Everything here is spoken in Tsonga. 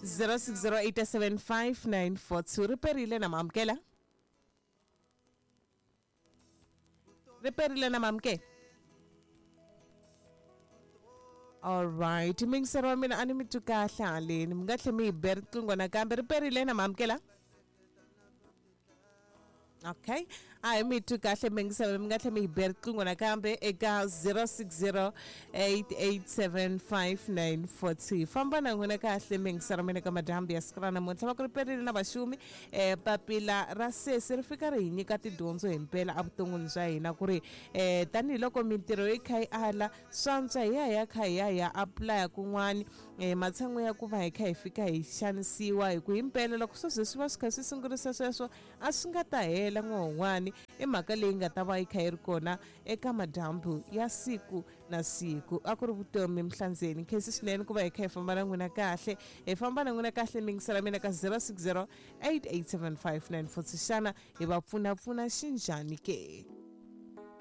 06087594 ri perile na maamukela, ri perile na maamukela. Alright, mingiseri wa mina, a ni mi twi kahle haleni, mi nga tlhe mi hi be riqingho nakambe. Ri perile na maamukela. Okay, a hi mi twi kahle mingiseri, mi nga tlhe mi hi be riqingho nakambe eka 0608875942. Famba na n'wina kahle mingiseri mina ka madyambu ya siku ra namuntlha. Va ku ri perile na vaxumi. Papila ra sesi ri fika ri hi nyika tidyondzo himpela evuton'wini bya hina, ku ri tanihiloko mintirho yi kha yi ala, swantswa hi ya hi ya kha hi ya hi ya apulaya kun'wani, matshan'we ya ku va hi kha hi fika hi xanisiwa. Hi ku himpela loko swo ze swi va swi kha swi sungurisa sweswo, a swi nga ta hela n'wahon'wani. I mhaka leyi nga ta va yi kha yi ri kona eka madyambu ya siku na siku. A ku ri vutomi mihlandzeni. Khensi swinene ku va hi kha hi famba na n'wina kahle, hi famba na n'wina kahle mingisela mina ka 060 8875946. Xana hi va pfunapfuna xinjhani ke?